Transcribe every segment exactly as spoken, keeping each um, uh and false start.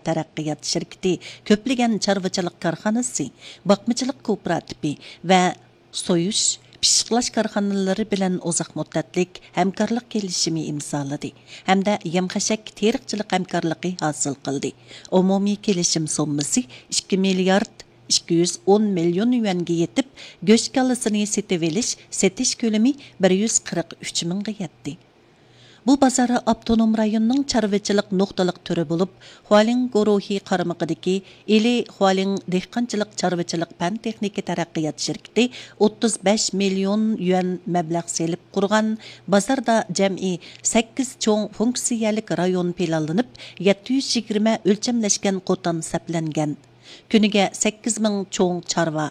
تەرەققىيات شىركىتى، كۆپلىگەن چارۋىچىلىق كارخانىسى، باقمىچىلىق كوپىراتىپى ۋە سويۇش، پىششىقلاش كارخانىلىرى بىلەن ئۇزاق مۇددەتلىك ھەمكارلىق كېلىشىمى ئىمزالىدى ھەمدە يەم-خەشەك تېرىقچىلىق ھەمكارلىقى ھاسىل قىلدى. ئومۇمىي كېلىشىم سوممىسى ئىككى مىليارد ئىككى يۈز ئون مىليون يۈەنگە يېتىپ، گۆش كالىسىنى سېتىۋېلىش، سېتىش كۆلىمى بىر يۈز قىرىق ئۈچ مىڭغا يەتتى. بۇ بازار ئاپتونوم رايوننىڭ چارۋىچىلىق نۇقتىلىق تۈرى بولۇپ، خۇالىڭ گۇرۇھى قارمىقىدىكى ئىلى خۇالىڭ دېھقانچىلىق چارۋىچىلىق پەن تېخنىكا تەرەققىيات شىركىتى ئوتتۇز بەش مىليون يۈەن مەبلەغ سېلىپ قۇرغان بازاردا جەمئىي سەككىز چوڭ فۇنكسىيەلىك رايون پىلانلىنىپ، يەتتە يۈز يىگىرمە ئۆلچەملەشكەن قوتان سەپلەنگەن. كۈنىگە سەككىز مىڭ چوڭ چارۋا،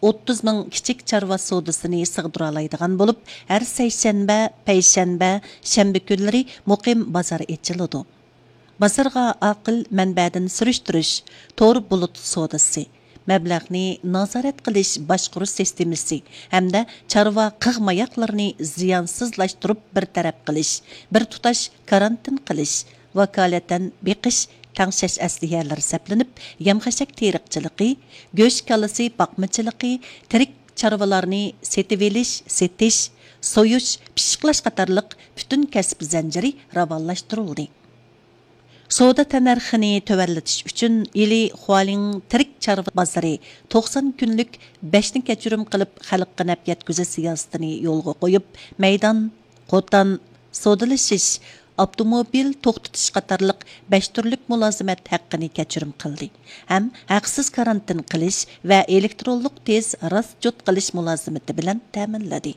ئوتتۇز مىڭ كىچىك چارۋا سودىسىنى سىغدۇرالايدىغان بولۇپ، ھەر سەيشەنبە، پەيشەنبە، شەنبە كۈنلىرى مۇقىم بازار ئېچىلىدۇ. بازارغا ئاقىل مەنبەدىن سۈرۈشتۈرۈش، تور بۇلۇت سودىسى، مەبلەغنى نازارەت قىلىش باشقۇرۇش سىستېمىسى ھەمدە چارۋا قىغ ماياقلىرىنى زىيانسىزلاشتۇرۇپ بىر تەرەپ قىلىش، بىر تۇتاش كارانتىن قىلىش، ۋاكالىتەن بېقىش، تەڭشەش ئەسلىھەلىرى سەپلىنىپ، يەم-خەشەك تېرىقچىلىقى، گۆش كالىسى باقمىچىلىقى، تىرىك چارۋىلارنى سېتىۋېلىش، سېتىش، سويۇش، پىششىقلاش قاتارلىق پۈتۈن كەسىپ زەنجىرى راۋانلاشتۇرۇلدى. سودا تەننەرخىنى تۆۋەنلىتىش ئۈچۈن، ئىلى خۇالىڭ تىرىك چارۋا بازىرى توقسان كۈنلۈك بەشنى كەچۈرۈم قىلىپ خەلققە نەپ يەتكۈزۈش سىياسىتىنى يولغا قويۇپ، مەيدان، قوتان، سودىلىشىش، ئاپتوموبىل توختىتىش قاتارلىق بەش تۈرلۈك مۇلازىمەت ھەققىنى كەچۈرۈم قىلدى ھەم ھەقسىز كارانتىن قىلىش ۋە ئېلېكترونلۇق تېز راسچوت قىلىش مۇلازىمىتى بىلەن تەمىنلىدى.